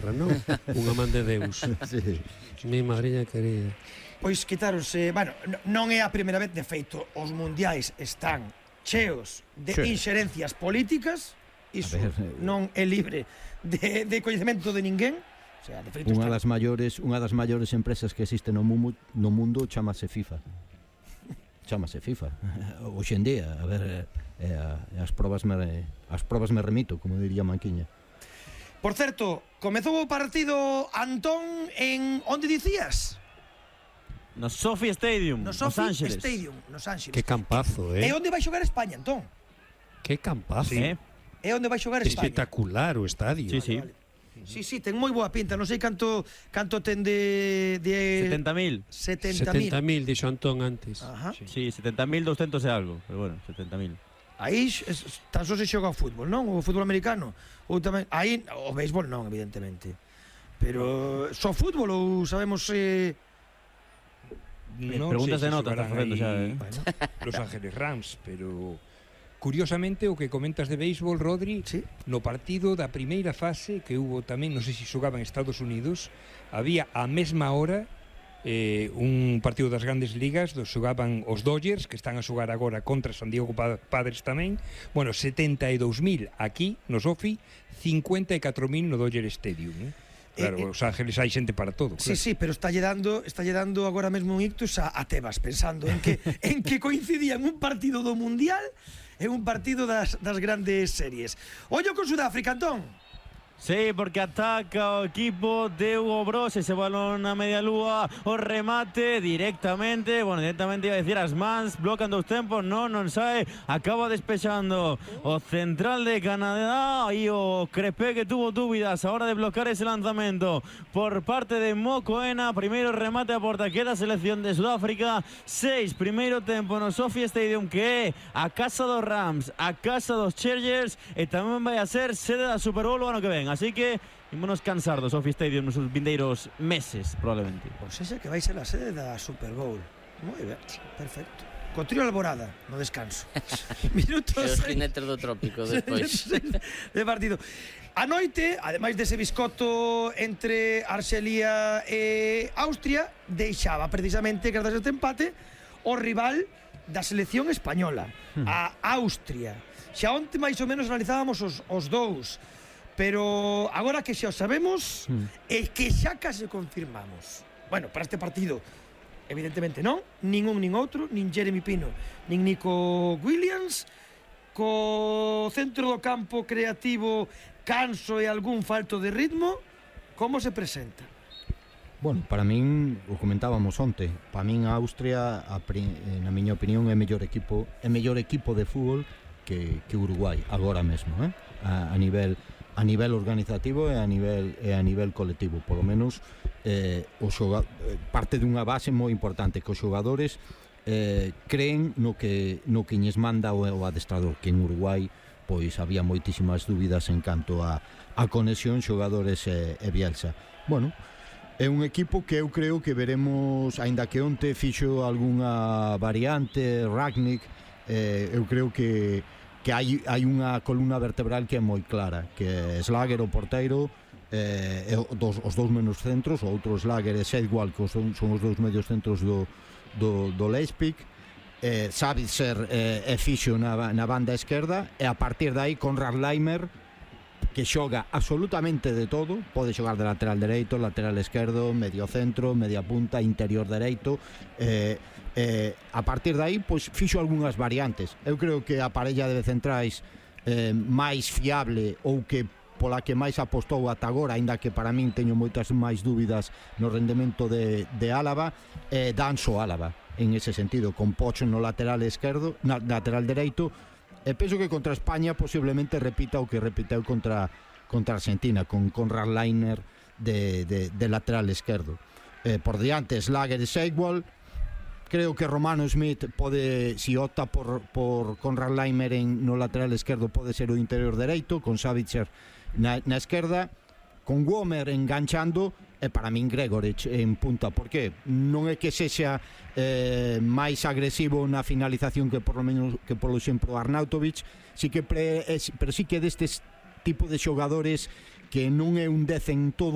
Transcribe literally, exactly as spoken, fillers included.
terra, non? Unha man de Deus. Sí. Mi madriña querida. Pois quitaronse, bueno, non é a primeira vez, de feito, os mundiais están cheos de Sí. inxerencias políticas, iso A ver, eh, non é libre de, de coñecemento de ninguén. O sea, de feito Unha está... das maiores, unha das maiores empresas que existe no mundo, no mundo chamase FIFA. Chamase FIFA. Hoxe en día, a ver, eh, eh, as probas me as probas me remito, como diría Manquiña. Por certo, comezou o partido, Antón, en onde dicías? No Sophie Stadium, No Los Sophie Ángeles. Stadium, Los Ángeles. Que campazo, É eh? onde vai xogar España, Antón? Que campazo. Sí. É onde vai xogar España. Espectacular o estadio. Sí, sí. Vale. Sí, sí, ten moi boa pinta. Non sei canto canto ten de de setenta mil. setenta setenta mil. mil, dixo Antón antes. Ajá. Sí, setenta mil doscientos e algo. Pero bueno, setenta mil. Aí es- tan só se xoga o fútbol, non? O fútbol americano. Ou tamén aí o béisbol non, evidentemente. Pero só fútbol ou sabemos se Non Preguntas sei de se nota, xogarán estás facendo aí xa, eh. bueno, Los Ángeles Rams, pero curiosamente o que comentas de béisbol, Rodri, sí. no partido da primeira fase que hubo tamén, non sei se xogaban en Estados Unidos, había a mesma hora eh, un partido das grandes ligas, dos xogaban os Dodgers, que están a xogar agora contra San Diego Pa- Padres tamén, bueno, setenta e dous mil aquí no Sophie, cincuenta e catro mil no Dodger Stadium, eh? Claro, Eh, eh, Os Ángeles hai xente para todo, Sí, claro. sí, pero está lle dando, está lle dando agora mesmo un ictus a, a Tebas, pensando en que en que coincidían un partido do Mundial e un partido das, das grandes series. Ollo con Sudáfrica, Antón. Sí, porque ataca o equipo de Hugo Bros, ese balón a media lúa, o remate directamente, bueno, directamente iba a decir as mans, blocan dos tempos, non, non sae, acaba despexando o central de Canadá e o Crepé, que tuvo dúbidas a hora de bloquear ese lanzamento por parte de Mokoena. Primeiro remate a porta, queda a selección de Sudáfrica, seis, primeiro tempo no Sophie Stadium, que é a casa dos Rams, a casa dos Chargers, e tamén vai a ser sede da Super Bowl o ano que ven. Así que ímonos cansar do Sophie Stadium nos vindeiros meses, probablemente. Pois esa que vai ser a sede da Super Bowl. Moi ben, perfecto. Co trío Alborada, no descanso. Minutos E os seis- jinetes do trópico despois. de partido. A noite, ademais dese biscoto entre Arxelia e Austria, deixaba precisamente, grazas a este empate, o rival da selección española, a Austria. Xa onte máis ou menos analizábamos os, os dous, pero agora que xa o sabemos, e que xa case confirmamos. Bueno, para este partido, evidentemente non, nin un nin outro, nin Jeremy Pino, nin Nico Williams, co centro do campo creativo canso e algún falto de ritmo, como se presenta? Bueno, para min, o comentábamos onte, para min a Austria, a, pri- na miña opinión, é mellor equipo, é mellor equipo de fútbol que, que Uruguai agora mesmo, eh? a, a nivel a nivel organizativo e a nivel e a nivel colectivo, polo menos eh, o xoga, parte dunha base moi importante, que os xogadores eh, creen no que no que lles manda o, o adestrador, que en Uruguai pois había moitísimas dúbidas en canto a a conexión xogadores e, e Bielsa. Bueno, é un equipo que eu creo que veremos, aínda que onte fixo algunha variante, Ragnick, eh, eu creo que que hai, hai unha columna vertebral que é moi clara, que é Slager, o porteiro, eh, e dos, os dous menos centros, o outro Slager e Seidwald, que son, son os dous medios centros do, do, do Leipzig, eh, Sabitzer eh, e fixo na, na banda esquerda, e a partir de aí Konrad Laimer, que xoga absolutamente de todo, pode xogar de lateral dereito, lateral esquerdo, medio centro, media punta, interior dereito, eh, eh, a partir de aí pois fixo algunhas variantes. Eu creo que a parella de centrais eh, máis fiable ou que pola que máis apostou ata agora, aínda que para min teño moitas máis dúbidas no rendemento de, de Álava, eh, Danso Álava, en ese sentido, con Pocho no lateral esquerdo, na lateral dereito. E penso que contra España posiblemente repita o que repiteu contra contra Argentina, con Konrad Laimer de, de, de lateral esquerdo. Eh, por diante, Slager e Seidwald. Creo que Romano Smith pode, si opta por, por Konrad Laimer en, no lateral esquerdo, pode ser o interior dereito, con Savitzer na, na esquerda, con Womer enganchando, e para min Gregorich en punta. Por que? Non é que sexa eh, máis agresivo na finalización que por lo menos que polo exemplo Arnautovic, si que pre, es, pero si que destes tipo de xogadores que non é un dez en todo